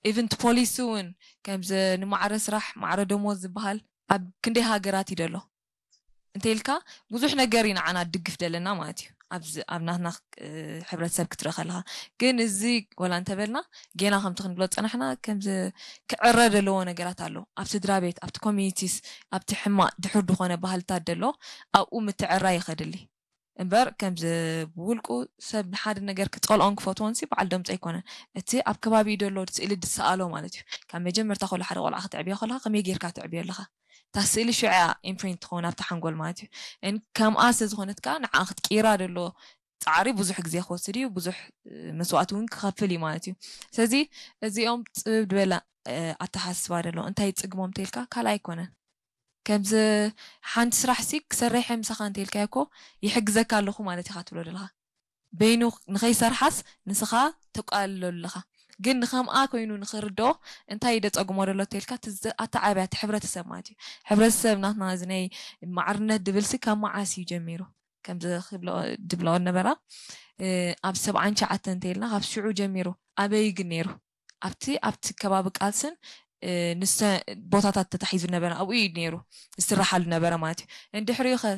ኢቨንት ፖሊሲ እውን ከምዚ ንማዕረ ስራሕ ማዕረ ደሞዝ ዝበሃል ኣብ ክንደይ ሃገራት እዩ ደሎ እንተ ኢልካ ብዙሕ ነገር እዩ ንዓና ድግፍ ደለና ማለት እዩ። ኣብዚ ኣብ ናትና እ፣ ሕብረተሰብ ክትርኢ ከለካ ግን እዚ ወላ እንተበልና ጌና ከምቲ ክንብሎ ዝፀናሕና ከምዚ ክዕረ ዘለዎ ነገራት ኣሎ ኣብ ስድራ ቤት ኣብቲ ኮሚኒቲስ ኣብቲ ሕማቅ ድሑር ዝኾነ ባህልታት ደሎ ኣብኡ ምትዕራ ይኸድሊ እምበር ከምዚ ብውልቁ ሰብ ንሓደ ነገር ክፀልኦን ክፈትዎን ሲ በዓል ደምፆ ኣይኮነን። እቲ ኣብ ከባቢኡ ደሎ ስእሊ ዝሰኣሎ ማለት እዩ። ካብ መጀመርታ ከሎ ሓደ ቆልዓ ክትዕብዮ ከለካ ከመይ ጌርካ ትዕብዮ ኣለካ? እታ ስእሊ ሽዑ እያ ኢምፕሪንት ትኸውን ኣብቲ ሓንጎል ማለት እዩ። እን ከምኣ ስለ ዝኾነት ከዓ ንዓ ክትቅይራ ደሎ ፃዕሪ ብዙሕ ግዜ ክወስድ እዩ፣ ብዙሕ እ፣ መስዋእቲ እውን ክኸፍል እዩ ማለት እዩ። ስለዚ እዚኦም ፅብብ ዝበለ እ፣ ኣተሓስባ ደሎ እንታይ ይፅግሞም ተልካ ካልኣይ ኣይኮነን። ከምዚ ሓንቲ ስራሕ ሲ ክሰርሕ እየ ምሳኻ እንተልካዮ እኮ ይሕግዘካ ኣለኹ ማለት ኢኻ ትብሎ ዘለኻ። በይኑ ንኸይሰርሓስ ንስኻ ተቃልሎ ኣለኻ። ግን ንኸምኣ ኮይኑ ንኽርድኦ እንታይ ደፀግሞ ደሎ ተልካ ኣተዓብያ እቲ ሕብረተሰብ ማለት እዩ። ሕብረተሰብ ናትና እዚ ናይ ማዕርነት ድብል ሲ ካብ መዓስ እዩ ጀሚሩ? ከምዚ ክብሎ ድብሎ ነበራ እ፣ ኣብ ሰብዓን ሸዓተን እንተኢልና ካብ ሽዑ ጀሚሩ ኣበይ ግን ነይሩ ኣብቲ ኣብቲ ከባቢ ቃልስን እ፣ ንሰ ቦታታት ተታሒዙ ነበረ ኣብኡ እዩ ነይሩ ዝስራሓሉ ነበረ ማለት እዩ። እንድሕሪኡ ኸ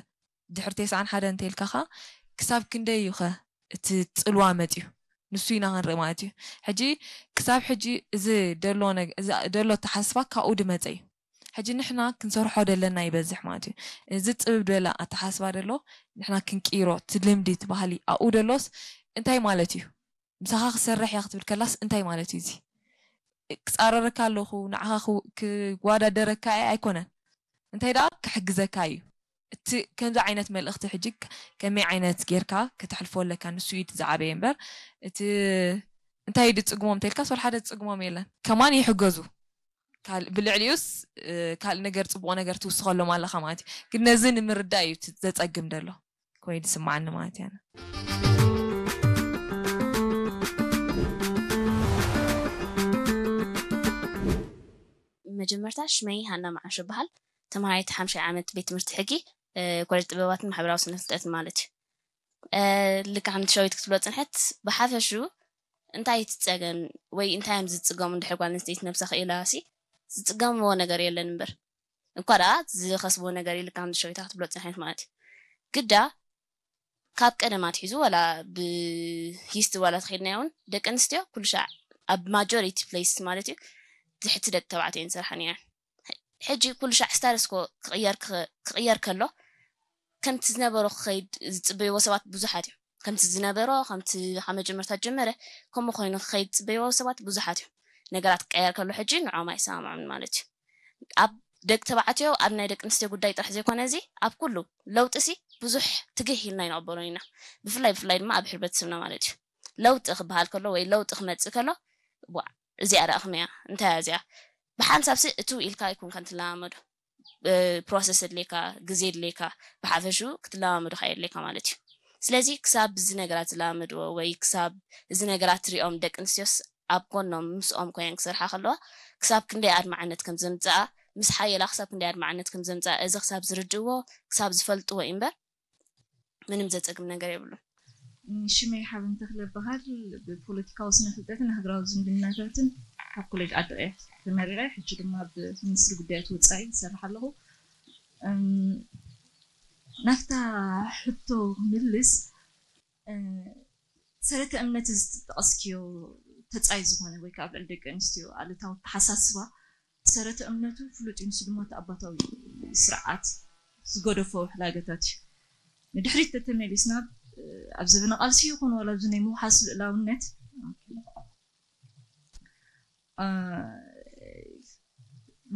ድሕሪ ተስዓን ሓደ እንተኢልካ ኸ ክሳብ ክንደይ እዩ ኸ እቲ ፅልዋ መፅዩ ንሱ ኢና ክንርኢ ማለት እዩ። ሕጂ ክሳብ ሕጂ እዚ ደሎ ነገ- እዚ ደሎ ኣተሓስባ ካብኡ ድመፀ እዩ። ሕጂ ንሕና ክንሰርሖ ደለና ይበዝሕ ማለት እዩ። እዚ ፅብብ ዝበለ ኣተሓስባ ደሎ ንሕና ክንቅይሮ እቲ ልምዲ እቲ ባህሊ ኣብኡ ደሎስ እንታይ ማለት እዩ? ምሳኻ ክሰርሕ እያ ክትብል ከላስ እንታይ ማለት እዩ እዚ? ክፃረረካ ኣለኹ ንዓኻ ክው- ክወዳደረካ እየ ኣይኮነን። እንታይ ደኣ ክሕግዘካ እዩ። እቲ ከምዚ ዓይነት መልእኽቲ ሕጂ ከ- ከመይ ዓይነት ጌርካ ከተሕልፎ ኣለካ ንሱ እዩ እቲ ዝዓበየ እምበር እቲ እንታይ ድፅግሞም እንተልካስ ወላ ሓደ ዝፅግሞም የለን። ከማን ይሕገዙ ካልእ ብልዕሊኡስ እ፣ ካልእ ነገር ፅቡቕ ነገር ትውስኸሎም ኣለኻ ማለት እዩ። ግን ነዚ ንምርዳእ እዩ እቲ ዘፀግም ደሎ ኮይኑ ዝስማዓኒ ማለት እያ። መጀመርታ ሽመይ ሃና መዓሾ ይበሃል። ተምሃራይት ሓምሻይ ዓመት ቤት ትምህርቲ ሕጊ ኮሌጅ ጥበባትን ማሕበራዊ ስነ ፍልጠትን ማለት እዩ። ልካ ከምቲ ሸዊት ክትብሎ ፅንሐት ብሓፈሹ እንታይ እቲ ፀገም ወይ እንታይ እዮም ዝፅገሙ እንድሕር ጓል ኣንስተይቲ ነብሳ ክኢላ ሲ ዝፅገምዎ ነገር የለን እምበር እኳ ደኣ ዝኸስብዎ ነገር እዩ። ልካ ከምቲ ሸዊታ ክትብሎ ፅንሐት ማለት እዩ። ግዳ ካብ ቀደም ኣትሒዙ ዋላ ብሂስት ዋላ ተኸድናዮ እውን ደቂ ኣንስትዮ ኩሉ ሻዕ ኣብ ማጆሪቲ ፕሌስ ማለት እዩ ትሕቲ ደቂ ተባዕትዮ እየን ዝሰርሓ ነይረን። ሕጂ ኩሉ ሻዕ ስታተስኮ ክቕየር ክኸ- ክቕየር ከሎ ከምቲ ዝነበሮ ክኸይድ ዝፅበይዎ ሰባት ብዙሓት እዮም። ከምቲ ዝነበሮ ከምቲ ካብ መጀመርታ ጀመረ ከምኡ ኮይኑ ክኸይድ ዝፅበይዎ ሰባት ብዙሓት እዮም። ነገራት ክቀየር ከሎ ሕጂ ንዖም ኣይሰማምዑን ማለት እዩ። ኣብ ደቂ ተባዕትዮ ኣብ ናይ ደቂ ኣንስትዮ ጉዳይ ጥራሕ ዘይኮነ እዚ ኣብ ኩሉ ለውጢ ሲ ብዙሕ ትግህ ኢልና ይንቕበሎ ኢና። ብፍላይ ብፍላይ ድማ ኣብ ሕብረተሰብና ማለት እዩ። ለውጢ ክበሃል ከሎ ወይ ለውጢ ክመፅእ ከሎ ዋዕ እዚኣ ደኣ ከመይ እያ እንታይ እያ እዚኣ ብሓንሳብ ሲ እትው ኢልካ ኣይኮንካን ትለማመዶ። ፕሮሰስ የድልየካ፣ ግዜ የድልየካ፣ ብሓፈሽኡ ክትለማመዶ ከኣ የድልየካ ማለት እዩ። ስለዚ ክሳብ እዚ ነገራት ዝለማመድዎ ወይ ክሳብ እዚ ነገራት ትሪኦም ደቂ ኣንስትዮስ ኣብ ጎኖም ምስኦም ኮይነን ክሰርሓ ከለዋ ክሳብ ክንደይ ኣድማዕነት ከም ዘምፅኣ ምስ ሓየላ ክሳብ ክንደይ ኣድማዕነት ከም ዘምፅኣ እዚ ክሳብ ዝርድእዎ ክሳብ ዝፈልጥዎ እዩ እምበር ምንም ዘፀግም ነገር የብሉን። ሽመይ ሓበን ተኽለ እበሃል። ብፖለቲካዊ ስነ ፍልጠትን ሃገራዊ ዝምድናታትን ካብ ኮሌጅ ዓዲ ቀይሕ ተመሪቐ፣ ሕጂ ድማ ኣብ ሚኒስትሪ ጉዳያት ወፃኢ ይሰርሕ ኣለኹ። ናፍታ ሕቶ ክምልስ፣ ሰረተ እምነት እዚ ዝጠቐስክዮ ተፃይ ዝኾነ ወይ ከዓ ኣብ ልዕሊ ደቂ ኣንስትዮ ኣሉታዊ ኣተሓሳስባ ሰረተ እምነቱ ፍሉጥ እዩ። ንሱ ድማ እቲ ኣባታዊ ስርዓት ዝገደፎ ሕላገታት እዩ። ንድሕሪት ተተመሊስና ኣብ ዘበነ ቃልሲ ይኹን ዋላ ኣብዚ ናይ ምውሓስ ልእላውነት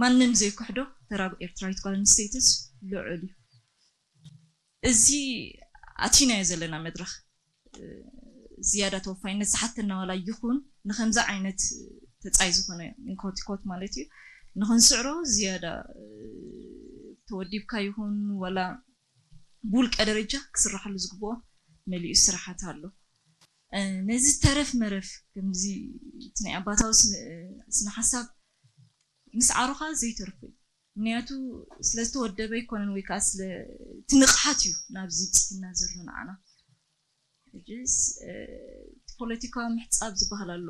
ማንም ዘይክሕዶ ተራ ኤርትራዊት ጓል ኣንስተይትስ ልዑል እዩ። እዚ ኣቲናዮ ዘለና መድረኽ ዝያዳ ተወፋይነት ዝሓተና ዋላ ይኹን ንከምዚ ዓይነት ተፃይ ዝኾነ ንኮቲኮት ማለት እዩ ንክንስዕሮ ዝያዳ ተወዲብካ ይኹን ዋላ ብውልቀ ደረጃ ክስራሓሉ ዝግብኦ መሊኡ ስራሓት ኣሎ። ነዚ ተረፍ መረፍ ከምዚ እቲ ናይ ኣባታዊ ስነ ሓሳብ ምስዓሩኻ ዘይተርፍ እዩ። ምክንያቱ ስለዝተወደበ ኣይኮነን ወይ ከዓ ስለ እቲ ንቕሓት እዩ ናብዚ ብፅሕና ዘሎ ንዓና። ሕጂስ እቲ ፖለቲካዊ ምሕፃብ ዝበሃል ኣሎ።